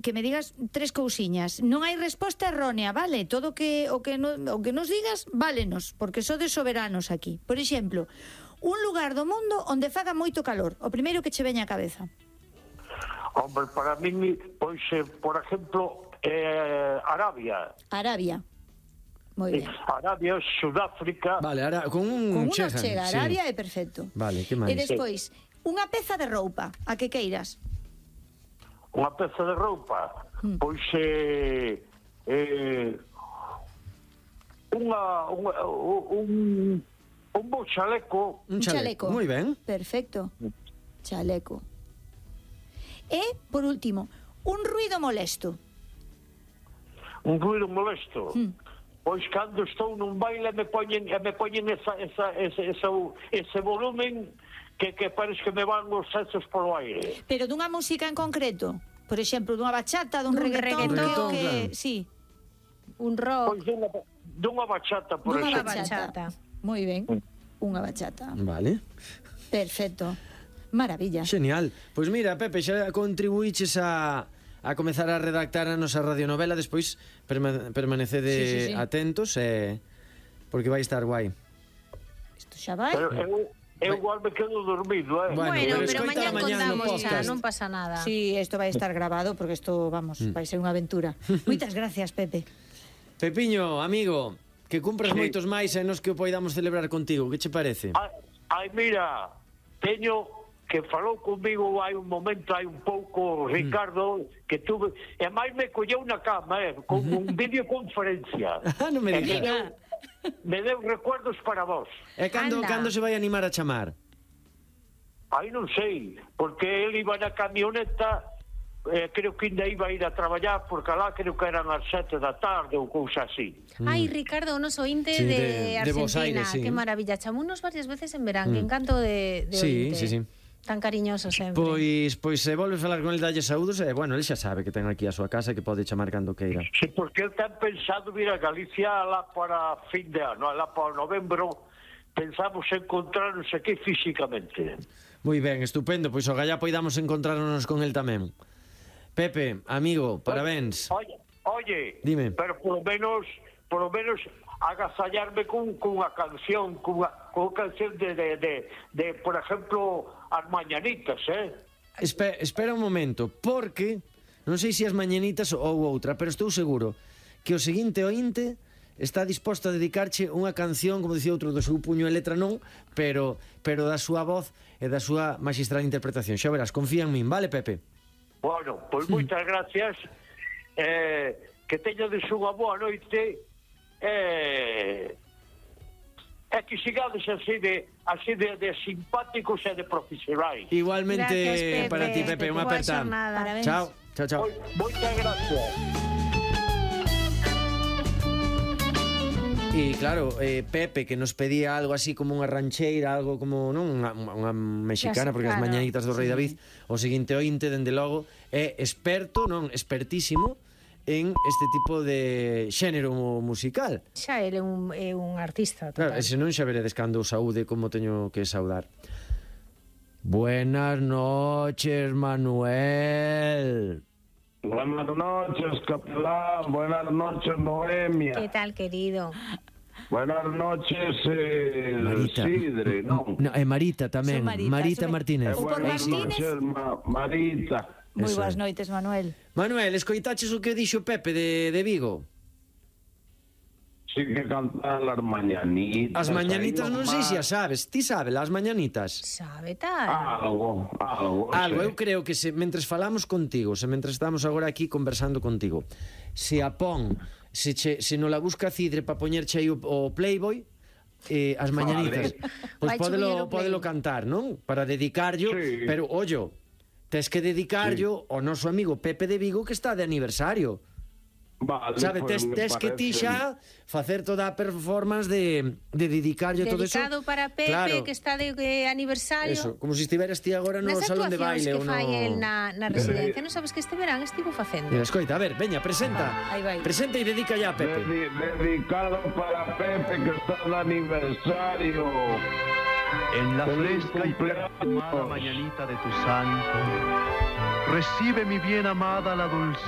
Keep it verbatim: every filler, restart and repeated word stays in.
que me digas tres cousiñas. Non hai resposta errónea, vale? Todo que o que no, o que nos digas, válenos, porque sodes soberanos aquí. Por exemplo, un lugar do mundo onde faga moito calor. O primeiro que che veña á cabeza. Hombre, para min, pois, eh, por exemplo, eh, Arabia. Arabia. Moi ben. Arabia, Sudáfrica. Vale, ahora con un Con unha chega, chega, sí. Arabia é perfecto. Vale, que máis? E despois, unha peza de roupa, a que queiras. Unha peza de roupa, mm. pois eh, eh, unha, unha un un bo chaleco. Un chaleco, moi ben. Perfecto. Chaleco. E, por último, un ruido molesto. Un ruido molesto. Mm. Pois cando estou nun baile me poñen me poñen esa esa ese ese, ese volumen que, que parece que me van os sexos polo aire. Pero dunha música en concreto? Por exemplo, dunha bachata, dun, dun reggaetón, reggaetón que, claro. Sí. Un rock. Pois dunha, dunha bachata, por Dunha exemplo. bachata. Moi ben. Unha bachata. Vale. Perfecto. Maravilla. Genial. Pois mira, Pepe, xa contribuíches a a comezar a redactar a nosa radionovela, despois perma permanecede sí, sí, sí. atentos e porque vai estar guai. Isto xa vai. Pero eu, eu igual me quedo dormido, eh? Bueno, Bueno, pero, pero mañá contamos xa, podcast. non pasa nada. Sí, isto vai estar grabado porque isto, vamos, mm. vai ser unha aventura. Moitas gracias, Pepe. Pepiño, amigo, que cumpras Sí. moitos máis e nos que o poidamos celebrar contigo. Que che parece? Ai, ai, mira, teño que falou comigo hai un momento, hai un pouco, Ricardo, mm. que tuve, e máis me colleu na cama, eh, con un videoconferencia. Ah, non me E digas. me deu, me deu recuerdos para vos. E cando, Anda. cando se vai animar a chamar? Aí non sei, porque ele iba na camioneta, eh, creo que ainda iba a ir a traballar, porque alá creo que eran as sete da tarde ou cousa así. Ai, Ricardo, o noso ointe Sí, de, de- de Bos Argentina, Aires, sí. que maravilla. Chamounos varias veces en verán, que encanto de, de Sí, ointe. sí, sí. Tan cariñoso sempre. Pois, pois se volves falar con el dalle saúdos e, bueno, el xa sabe que ten aquí a súa casa e que pode chamar cando queira. Sí, porque ele ten pensado vir a Galicia alá para fin de ano, alá para novembro, pensamos encontrarnos aquí físicamente. Moi ben, estupendo, pois ogallá poidamos encontrarnos con el tamén. Pepe, amigo, parabéns. Oye, oye, Dime. pero por lo menos, por lo menos agasallarme con, con unha canción, con unha, con unha canción de, de, de, de, por ejemplo, as mañanitas, eh? Espe espera un momento, porque non sei se as mañanitas ou outra, pero estou seguro que o seguinte ointe está disposto a dedicarche unha canción, como dicía outro, do seu puño e letra non, pero pero da súa voz e da súa magistral interpretación. Xa verás, confía en min, vale, Pepe? Bueno, pois pues moitas gracias, eh, que teñades unha boa noite, eh, e que sigades así de así de, de simpáticos e de profesionais. Igualmente. Gracias, Pepe. Para ti, Pepe, unha Boa aperta. xornada. Parabéns. Chao, chao, chao. Moi- Moitas gracias. E claro, eh, Pepe que nos pedía algo así como unha rancheira, algo como, non, unha, unha mexicana, porque as Claro, mañanitas do Rei sí. David, o seguinte ointe, dende logo, é experto, non, expertísimo en este tipo de xénero musical. Xa ele é un, é un artista Claro, total. e se non xa veredes cando o saúde como teño que saudar. Buenas noches, Manuel. Buenas noches, capelán. Buenas noches, Noemia. Que tal, querido? Buenas noches, eh, Marita. Sidre, ¿no? No, e Marita tamén, Son Marita, Marita son- Martínez. Ou por Buenas Martínez. noches, Ma- Marita. Moi Eso boas é. noites, Manuel. Manuel, escoitaches o que dixo Pepe de, de Vigo? Sí que cantan las mañanitas. As mañanitas ahí non sei se nomás. as sabes. Ti sabes as mañanitas? Sabe tal? Algo, algo. Algo, sí. eu creo que se mentres falamos contigo, se mentres estamos agora aquí conversando contigo, se a pon, se, che, se non la busca Cidre para poñerche aí o, o Playboy, eh, as mañanitas, Vale. pois Vai chubir podelo, o Play. podelo cantar, non? Para dedicarllo, Sí. pero, ollo, tes que dedicarllo ao noso amigo Pepe de Vigo que está de aniversario. Vale, Sabe, pues tes, me tes que ti parece- xa facer toda a performance de, de dedicarlle todo eso. Dedicado para Pepe, Claro, que está de eh, aniversario. eso, como se estiveras ti agora no Nas salón de actuacións baile que ou no... fai el na, na residencia. Non sabes que este verán estivo facendo. Mira, escoita, a ver, veña, presenta. Aí vai. Presenta e dedica ya a Pepe. Dedi- dedicado para Pepe que está de aniversario. En la Feliz fresca y cumpleaños. perfumada mañanita de tu santo, recibe mi bien amada la dulzura